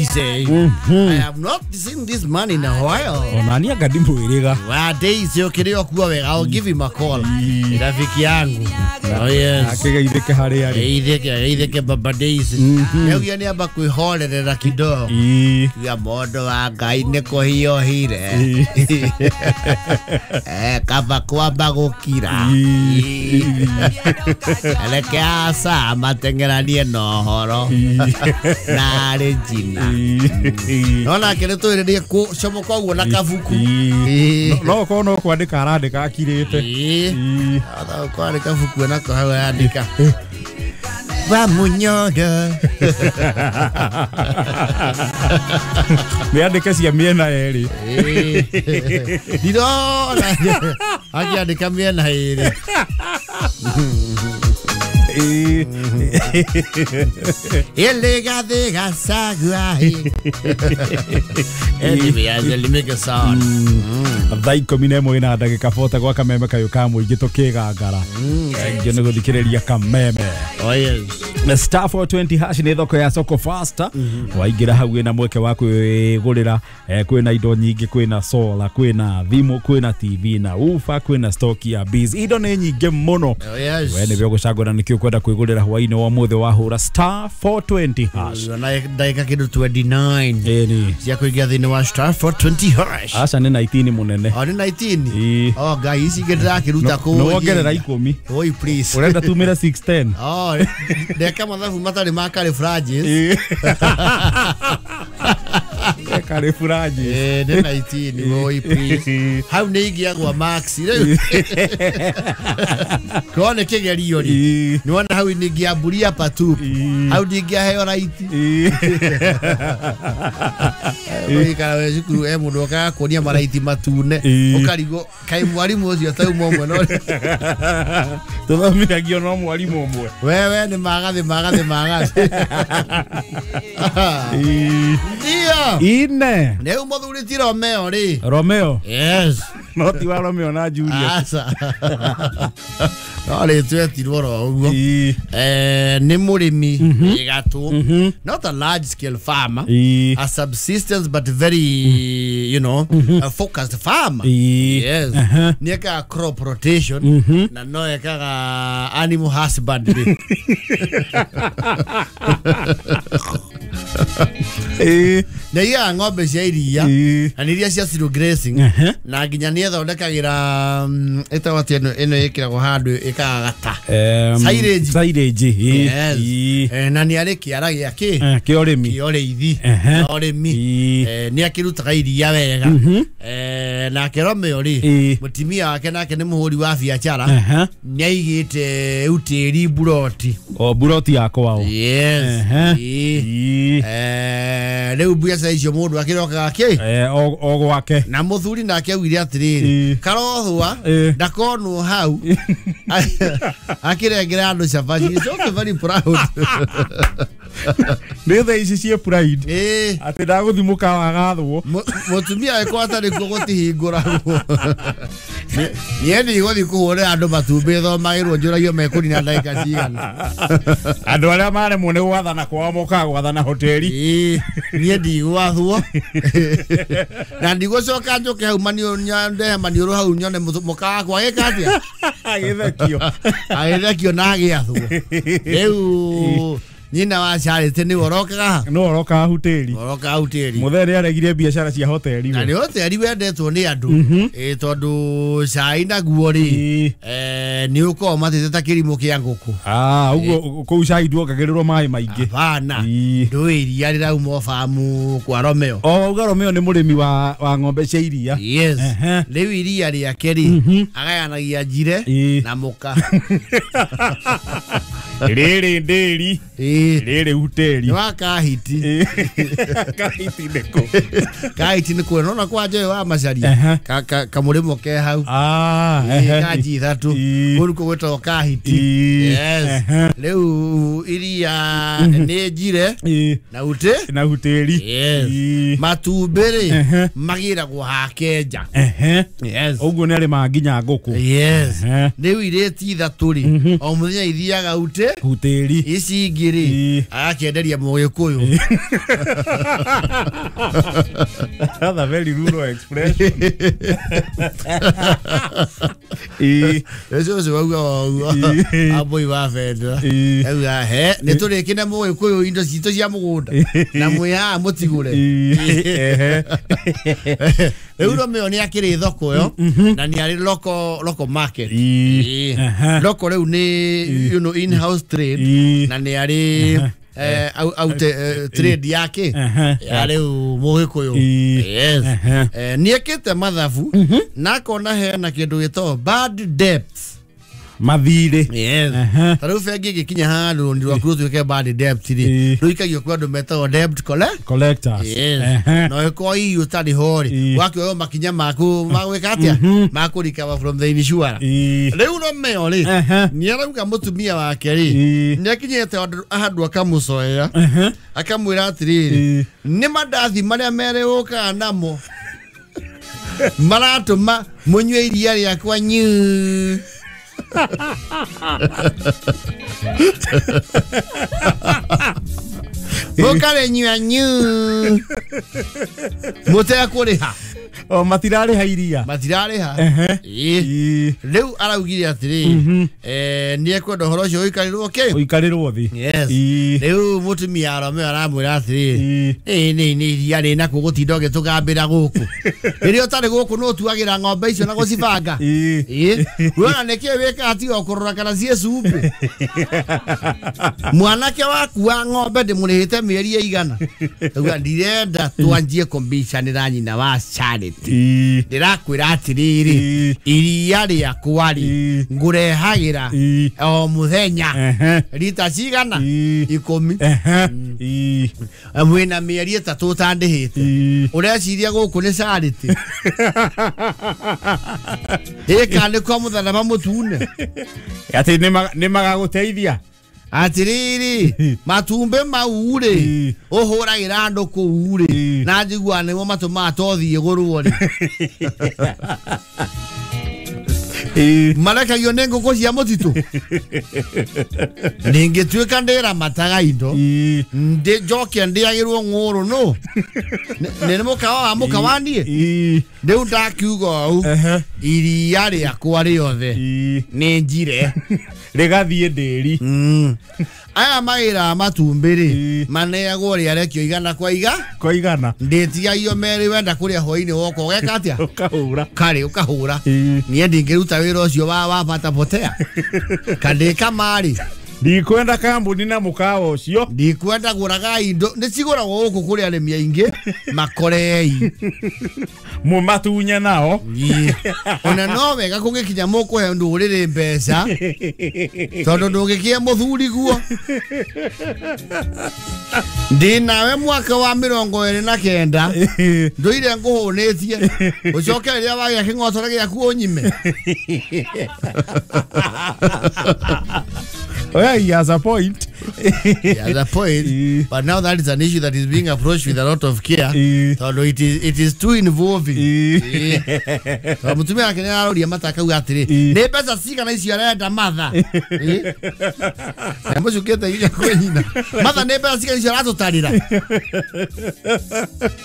I have not seen this man in a while. Onani anga ndimwĩrĩga. Wa Daisy ũkĩrĩ o kuo wega. I'll give him a call. Rafiki yangu. Oh yes. Akĩgeithĩke harĩa arĩ. Geithĩke, geithĩke baba Daisy. Nĩaugire nĩamba kwĩhorerera kidogo. Ya mũndũ wa Ngai nĩ kũhiũhire. Kaba kwamba gũkira. Reke aca mateng'eranie na ũhoro. Na arĩ njina. No nake nĩ twĩrĩrie kũcomoka ũguo na kabuku. No ũkorwo no kwandĩka arandĩka akirĩte. Kwandĩka kabuku nako hau arandĩka. Wa Munyoro. Nĩ andĩke cia mĩena yerĩ. Ndirona akĩandĩka mĩena ĩrĩ. Ele Gachagua. Anyway, I'll make a sound. Thaa 11 na ndagĩka 40 gwa kameme kayũ ka mũingĩ tũkĩgangara. Thengiũ nĩ gũthikĩrĩria kameme. Oh yes. Na star 420 hash nĩ thoko ya soko faster. Waingĩra hau wĩna mweke wa kwĩgũrĩra, kwĩna indo nyingĩ, kwĩna solar, kwĩna thimũ, kwĩna TV na ufa, kwĩna stock ya bees. Indo nĩ nyingĩ mũno. Oh yes. We nĩwe ũgũcagũra nĩkĩ ũkwenda kwĩgũrĩra hwaĩ-inĩ wa ũmũthĩ wahũra star 420 hash. Na ndagĩka kĩndũ 29. Ĩni. Cia kũingĩra thĩinĩ wa star 420 hash. Aca nĩ 19 mũnene. O nĩ 19. Oh Ngai, ici ingĩ ndĩrakĩruta kũ. Nĩ wongerera 10. Oi please. Ũrenda tumĩre 610. Oh, ndeka mathabu matarĩ ma Karĩ Francis. Karĩ Francis. Nĩ 19, oi please. Hau nĩ ingĩagwa max rĩu. Korwo nĩ kĩgerio rĩ. Nĩ wona hau nĩ ingĩamburia patu. Hau ndingĩaheo right. Ũikara we cukuru e mũndũ okaga kuonia maraiti matune. Ũkarigwo kaĩ mwarimũ ũcio tauma ũmwe no. Tũthomithagio no mwarimũ ũmwe. Wewe nĩ magathĩ magathĩ magathĩ. Ndio. Ine. Rĩu mũthuri ti Romeo rĩ. Romeo. Yes. No ti wa Romeo na Juliet. Aca. No rĩ twetirwo ro ũguo. Nĩ mũrĩmi gatũ. Not a large scale farmer. A subsistence but very, you know, a focused farmer. Yes. Nĩ ekaga crop rotation na no ekaga animal husbandry. Nĩ aigaga ng'ombe cia iria na nĩ iria cia zero grazing na nginya nĩ ethondekagĩra ĩtagwo atĩa ĩno ĩkĩragwo handũ ĩkagagata. Silage. Silage. Yes. Na nĩ arĩ kĩara gĩa kĩ? Kĩa ũrĩmi. Kĩa ũrĩithi. Ũrĩmi. Nĩ akĩrutaga iria wega. Nake Romeo rĩ, mũtumia wake nake nĩ mũhũri wa biacara. Nĩ aigĩte utĩri buroti. O buroti ya kwao. Yes. Rĩu biacara icio mũndũ akĩrokaga kĩ? O gwake. Na mũthuri nake augire atĩrĩrĩ, karothwa ndakonwo hau akĩrengera andũ cabaci. He's also very proud. Nĩ thaa ici ciĩ pride. Atĩ ndagũthiĩ mũkawa agathwo. Mũtumia wekwa atarĩ kuo gũtihingũragwo. Niĩ ndigũthiĩ kũhũrĩra andũ matumbĩ thomagĩrwo njũragio mekũnina ndagĩka cigana. Andũ arĩa maremwo nĩ gwathana kwao mokaga gwathana hoteli. Niĩ ndigwathwo. Na ndigũcoka njũke hau ndehe maniũrũ hau nyone mũkawa wakwa agĩka atĩa? Agĩthekio. Agĩthekio na agĩathwo. Rĩu nyina wa Charity nĩwe ũrokaga? No ũrokaga hoteli. Ũrokaga hoteli. Mũthee nĩ aregire biacara cia hoteli. Na nĩ hoteli wendetwo nĩ andũ. Tondũ cai naguo rĩ, nĩ ũkoragwo matĩte ta kĩrimũ kĩa ngũkũ. Ũguo kũu cai nduongagĩrĩrwo maĩ maingĩ. Hapana. Ndũĩ iria rĩrauma o bamu kwa Romeo. O wauga Romeo nĩ mũrĩmi wa ng'ombe cia iria. Yes. Rĩu iria rĩake rĩ, agayanagia njire na mũka. Rĩrĩ ndĩri. Rĩrĩ hoteli. Nĩ wa Kahiti. Kahiti nĩkũ? Kahiti nĩ kuo nona kwa Njoyo wa Macharia. Kamũrĩmo ke hau. Kanji ithatũ. Kũu nĩkuo gwĩtagwo Kahiti. Yes. Rĩu iria nĩ njire na ute na hoteli. Yes. Matumbĩ rĩ magĩragwo hake nja. Yes. Ũguo nĩ arĩmaga nginya ngũkũ. Yes. Rĩu irĩti ithatũ rĩ, o mũthenya ithiaga ute Gutĩri ici ingĩ rĩ agakĩenderia mũgĩkũyũ. That's a very rural expression. Ũcio ũcio wauga ũguo ambũi wa bendera auga he nĩ tũrĩkĩne mũgĩkũyũ indo citũ cia mũgũnda na mwĩ haha mũtigũre. Rĩu Romeo nĩ akĩrĩ thoko ĩyo na nĩ arĩ local market. Local rĩu nĩ you know in house trade na nĩ arĩ out trade yake ya rĩu mũgĩkũyũ. Yes. Nĩ ekĩte mathabu na akona hena kĩndũ gĩtagwo bad debts. Mathirĩ. Yes. Ta rĩu bengi ĩgĩkinya handũ rũni rwaku rũtuĩke bad debt rĩ, rũikagio kwĩ andũ metagwo debt collectors. Yes. Na ĩkorwo hihi ũtarĩ ho rĩ, wakĩoywo makinya maku magwĩka atĩa, makũrikaba from the insurance. Rĩu Romeo rĩ, nĩ arauga mũtumia wake rĩ, nĩ akinyĩte handũ akamũcoera akamwĩra atĩrĩrĩ, nĩ mandathi marĩa merĩ ũkaga namo maratũma mũnyue iria rĩakwa nyuu. Mũkarĩnyua nyuu mũtekũrĩha. O matirarĩha iria. Matirarĩha. Rĩu araugire atĩrĩrĩ, nĩ ekwenda ũhoro ũcio ũikarĩrwo kĩ? Ũikarĩrwo thĩ. Yes. Rĩu mũtumia wa Romeo aramwĩra atĩrĩrĩ, nĩ iria rĩ nakuo gũtinda ũgĩtũgambĩra gũkũ. Rĩrĩa ũtarĩ gũkũ nĩ ũtuagĩra ng'ombe icio na gũcibanga. Wona nĩkĩĩ wĩkaga tiga o kũrora kana ciĩ cumbĩ. Mwanake waku wa ng'ombe ndĩmũrĩhĩte mĩeri ĩigana. Auga ndirenda twanjie kũmbicanĩra nyina wa Charity. Ndĩrakwĩra atĩrĩrĩ, iria rĩakwa rĩ ngũrehagĩra o mũthenya rita cigana 10. Mwĩna mĩeri 3 ũtandĩhĩte. Ũreciria gũkũ nĩ Charity? Ĩka nĩ kwa mũtharaba mũtune. Atĩ nĩ magagũteithia. Atĩrĩrĩ, matumbĩ mau rĩ ũhũragĩra andũ kũu rĩ, na njiguaga nĩmo matũmaga tothiĩ gũrwo rĩ. Marekagio nĩ ngũkũ cia mũtitũ. Ningĩtuĩka ndĩramataga indo njoke ndĩagĩrwo ng'ũrũ nũ nĩ mũkawa wa mũkawa niĩ. Rĩu ndakiuga ũũ, iria rĩakwa rĩothe nĩ njire rĩgathiĩ ndĩri. Aya mawĩra matumbĩ rĩ maneagwo rĩarekio igana kwa iga kwa igana. Ndĩtigagio merĩ, wenda kũrĩa hwainĩ woka ũgeka atĩa? Ũkahũra. Karĩ ũkahũra. Niĩ ndingĩruta wĩra ũcio wa bata potea. Kandĩka marĩ. Ndikwenda kambuni na mũkawa ũcio. Ndikwenda gũraga indo nĩ cigũragwo gũkũ kũrĩ arĩmi aingĩ makorei. Mũmatunye nao. Ona no wega kũngĩkinya mũkũhe ndũrĩrĩ mbeca tondũ ndũngĩkĩe mũthuri guo. Ndĩ nawe mwaka wa 29 ndũire ngũhũnĩtie ũcoke rĩrĩa wagĩa kĩng'otore gĩaku ũnyime. Well, he has a point. He has a point. But now that is an issue that is being approached with a lot of care. Although it is too involving. Mutumia wake nĩ aroria mata akauga atĩrĩ, nĩ mbeca cigana icio arenda matha? Amũcukĩte nginya kwĩ nyina. Matha nĩ mbeca cigana icio aratũtarĩra?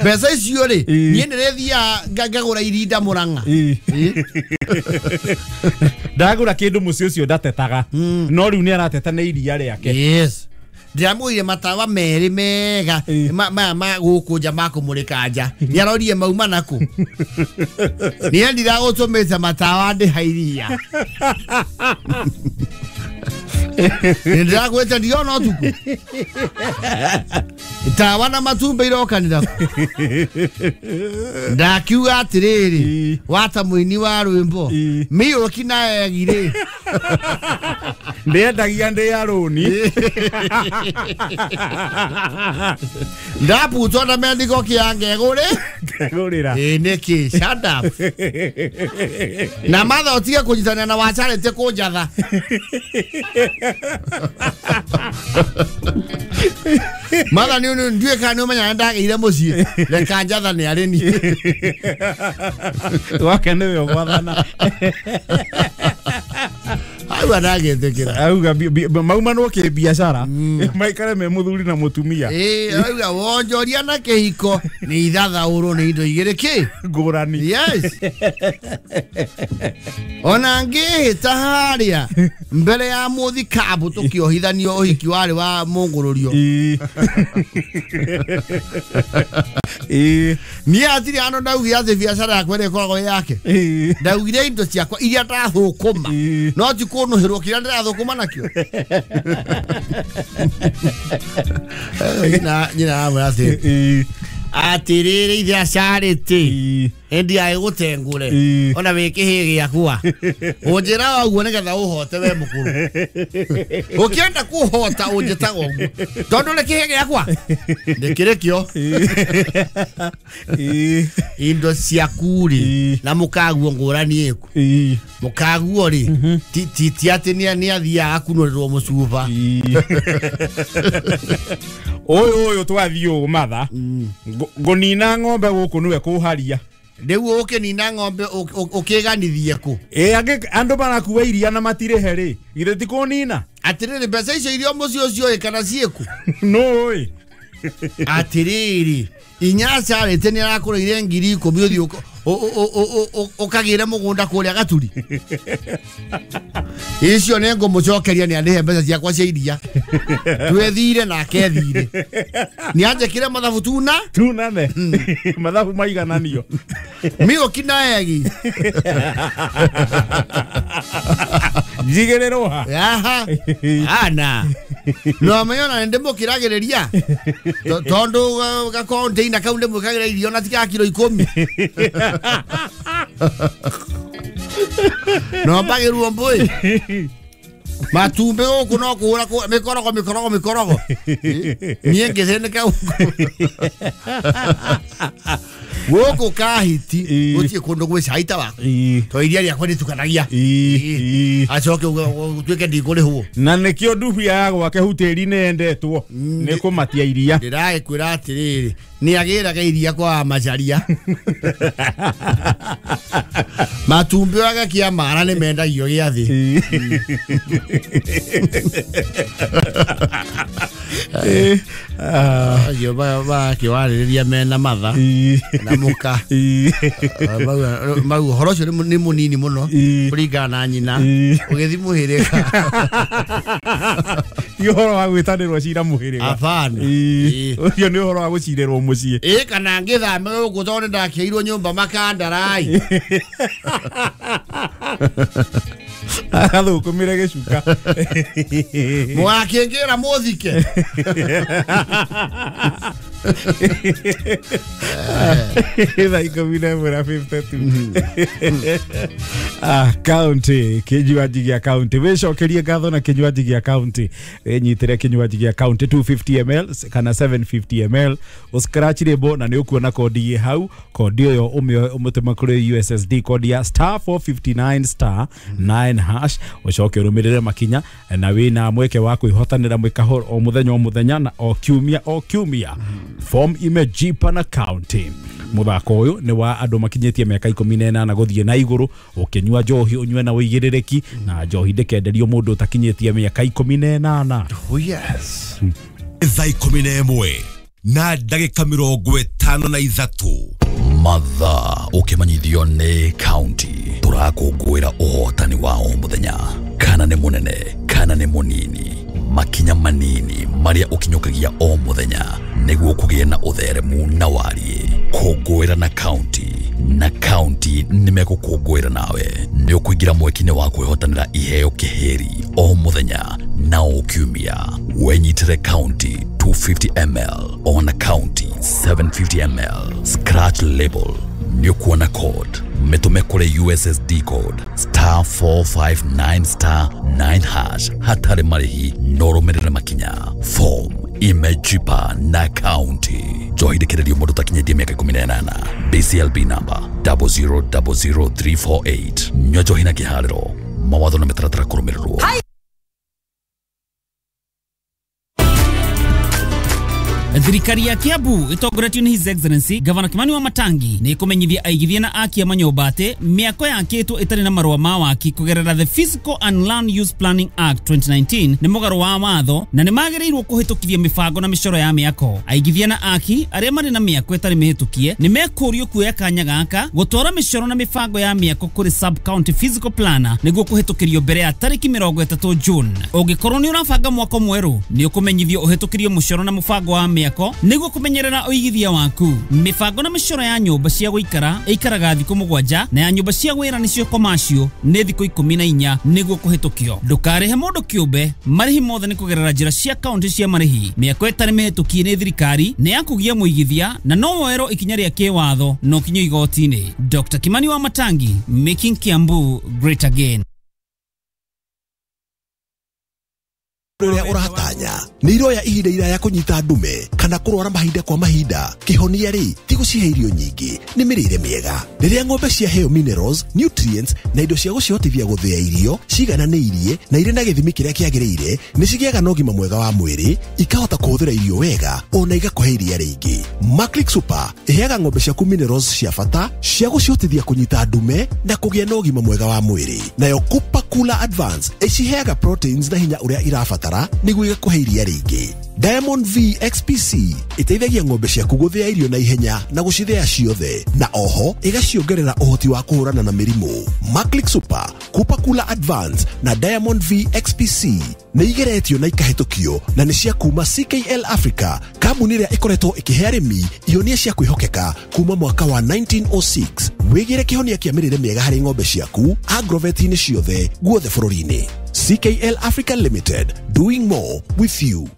Mbeca icio rĩ, niĩ nĩrĩthiaga ngagũra irinda Mũrang'a. Ndagũra kĩndũ mũciĩ ũcio ndatetaga. No rĩu nĩ arateta nĩ iria rĩake. Yes. Ndĩramũire matawa merĩ mega maya ma gũkũ nja makũmũrĩka nja. Nĩarorie mauma nakũ. Niĩ ndiragũtũmĩte matawa ndĩha iria. Nĩndĩrakwĩte ndiona ũtukũ. Tawa na matumbĩ irokanĩra. Ndakiuga atĩrĩrĩ, wata mũini wa rwĩmbo mĩũki na egi rĩ. Ndĩendagia ndĩ ya rũni. Ndaputwo na mendiko kĩa ngegũrĩ. Ngegũrĩra. Ĩ nĩkĩ? Shut up. Na matha ũtige kũnyitanĩra na wa Charity kũnjatha. Matha nĩ ndiũĩ kana nĩ ũmenyaga ndagĩire mũciĩ. Reka njatha nĩ arĩ niĩ. Wake nĩwe ũgwathana. Auga ndagĩtĩkĩra. Auga maumanwo kĩ biacara maikare me mũthuri na mũtumia. Auga wonjoria na kĩhiko nĩ ithathaũrwo nĩ indo igĩrĩ kĩ ngũrani. Yes. Ona ngĩhĩta harĩa mbere ya mũthikabu tũkĩohithanio ũhiki warĩ wa mũngũrũrio. Niĩ hatirĩ handũ ndaugire atĩ biacara yakwa ĩrĩa ĩkoragwo ĩ yake. Ndaugire indo ciakwa iria ndathũkũma no ti kũnũhĩrwo kĩrĩa ndĩrathũkũma nakĩo. Nyina amwĩra atĩ atĩrĩrĩ ithe acarĩtĩ ĩndi agĩgũtengũre ona wĩ kĩhĩ gĩakwa ũnjĩraga ũguo nĩgetha ũhote we mũkũrũ ũkĩenda kũhota ũnjĩtaga ũguo tondũ nĩ kĩhĩ gĩakwa nĩkĩrĩ kĩo indo ciaku rĩ na mũkaguo ngũrani ĩku mũkaguo rĩ ti atĩ nĩ athiaga akunũrĩrwo mũcuba. Ũyũ ũyũ twathiĩ ũũ matha ngũnina ng'ombe gũkũ nĩwe kũharia. Rĩu ũkĩnina ng'ombe ũkĩganithie kũ? Andũ marakua iria na matirĩhe rĩ githĩ ti kũnina? Atĩrĩrĩ mbeca icio iria mũciĩ ũcio ĩ kana ciĩkũ? Nũĩ. Atĩrĩrĩ inya acarĩte nĩ arakũrĩire 10,000 ũthiĩ ũkagĩre mũgũnda kũrĩa Gaturi. Icio nĩ ngũmũcokeria nĩ andĩhe mbeca ciakwa cia iria. Twethire nake ethire. Nĩ anjĩkire mathabu tuna tunane mathabu maigananio mĩũki na egi njigĩrĩrwo ha. Aha ana no amenyona nĩ ndĩmũkĩragĩrĩria tondũ gakonteina kau ndĩmwĩkagĩra irio na ti ga kiro 10. No mbagĩrwo mbũi matumbĩ gũkũ no kũhũra mĩkorogo mĩkorogo mĩkorogo niĩ ngĩthĩnĩka gũkũ Kahiti gũtirĩ kũndũ gwĩ cai ta waku to iria rĩakwa rĩtukanagia acoke ũtuĩke ndikũrĩhwo. Na nĩkĩo ndubia ya gwake hutĩri-inĩ yendetwo nĩ kũmatia iria. Ndĩragĩkwĩra atĩrĩrĩ nĩ agĩraga iria kwa Macharia. Matumbĩ agakia mara nĩ mendagio gĩathĩ. Acio bakĩwarĩrĩria mena matha na mũka mau ũhoro ũcio nĩ mũnini mũno kũringana na nyina ũgĩthiĩ mũhĩrĩga. Ti ũhoro wa gwĩtanĩrwo cira mũhĩrĩga. Hapana. Ũcio nĩ ũhoro wa gũcirĩrwo mũciĩ. Kana ngĩthame gũkũ tondũ nĩndakĩirwo nyũmba makandarai. Agathũkũmĩre gĩcuka. Mũgakĩngĩra mũthike. Thaa 11:52. County kinywaji gĩa county wĩcokerie ngatho na kinywaji gĩa county wĩnyitĩre kinywaji gĩa county 250 ml kana 750 ml ũscratch label na nĩ ũkuona kodi ĩ hau kodi ĩyo ũmĩtũme kũrĩ USSD kodi ya star 459 star 9 hash ũcoke ũrũmĩrĩre makinya na wĩna mweke wa kwĩhotanĩra mwĩkaho o mũthenya o mũthenya na o kiumia o kiumia. Form imejipa na county muthako uyu ni wa andu makinyitie miaka 18 guthie na iguru ukinyua njohi unyue na uigiririaki na njohi ndikenderio mundu utakinyitie miaka 18. Oh yes. Thaa 11 na ndagika 53 mathaa ukimanyithio ni county turakũngũĩra ũhotani wa o mũthenya kana nĩ mũnene kana nĩ mũnini makinya manini maria ũkinyũkagia o mũthenya nĩguo kũgĩe na ũtheremu na wariĩ kũngũĩra na county na county nĩmegũkũngũĩra nawe nĩ ũkũingĩra mweki-inĩ wa kwĩhotanĩra iheo kĩhĩri o mũthenya na o kiumia wenyitĩre county 250 ml ona county 750 ml scratch label nĩ ũkuona code mĩtũme kũrĩ USSD code star 459 star 9 hash hatarĩ marĩhi no ũrũmĩrĩre makinya form imejipa na county njohi ndĩkĩrĩrio mũndũ ũtakinyĩtie mĩaka 18 BCLB number 0000348 nyua njohi na kĩharĩro mawatho na mĩtaratara kũrũmĩrĩrwo. Thirikari ya Kiambu ĩtongoretio nĩ His Excellency Gavana Kimani wa Matangi nĩ ĩkũmenyithia aigithia na aki a manyũmba atĩ mĩako yakĩtwo ĩtarĩ na marũa ma waki kũgerera the Physical and Land Use Planning Act 2019 nĩ mũgarũ wa watho na nĩ magĩrĩirwo kũhĩtũkithia mĩbango na mĩcoro ya mĩako. Aigithia na aki arĩa marĩ na mĩako ĩtarĩ mĩhĩtũkie nĩ mekũrio kuoya kanya gaka gũtwara mĩcoro na mĩbango ya mĩako kũrĩ sub county physical planner nĩguo kũhĩtũkĩrio mbere ya tarĩki 30 June. Ũngĩkorwo nĩ ũrabanga mwako mwerũ nĩ ũkũmenyithio ũhĩtũkĩrio mũcoro na mũbango wa mĩako nĩguo kũmenyerera ũigithia waku. Mĩbango na mĩcoro ya nyũmba cia gũikara ĩikaraga thikũ 7 na ya nyũmba cia wĩra nĩcio commercial nĩ thikũ 14 nĩguo kũhĩtũkio. Ndũkarĩhe mũndũ kĩũmbe, marĩhi mothe nĩ kũgerera njĩra cia kaunti cia marĩhi. Mĩako ĩtarĩ mĩhĩtũkie nĩ thirikari nĩ ya kũgia mũigithia na no woerwo ikinya rĩa kĩwatho na ũkinyio igoti-inĩ. Dr. Kimani wa Matangi, making Kiambu great again. Rĩrĩa ũratanya nĩ iroya ihinda iraya kũnyita ndume kana kũrwara mahinda kwa mahinda, kĩhonia rĩ ti gũcihe irio nyingĩ, nĩ mĩrĩre mĩega. Rĩrĩa ng'ombe ciaheo minerals, nutrients na indo cia gũcihotithia gũthĩa irio cigananĩirie na irĩ na gĩthimi kĩrĩa kĩagĩrĩire, nĩ cigĩaga na ũgima mwega wa mwĩrĩ, ikahota kũhũthĩra irio wega ona igakũhe iria rĩingĩ. Maclick Super ĩheaga ng'ombe ciaku minerals cia bata cia gũcihotithia kũnyita ndume na kũgĩa na ũgima mwega wa mwĩrĩ. Nayo Cooper Cooler Advance ĩciheaga proteins na hinya ũrĩa irabatara nĩguo igakũhe iria rĩingĩ. Diamond V XPC ĩteithagia ng'ombe ciaku gũthĩa irio na ihenya na gũcithĩa ciothe, na oho ĩgaciongerera ũhoti wa kũhũrana na mĩrimũ. Maclick Super, Cooper Cooler Advance na Diamond V XPC nĩ igeretio na ikahĩtũkio na nĩ cia kuma CKL Africa, kambuni ĩrĩa ĩkoretwo ĩkĩhe arĩmi ihonia cia kwĩhokeka kuma mwaka wa 1906. Wĩgĩre kĩhonia kĩa mĩrĩre mĩega harĩ ng'ombe ciaku agroveti-inĩ ciothe guothe bũrũri-inĩ. CKL Africa Limited, doing more with you.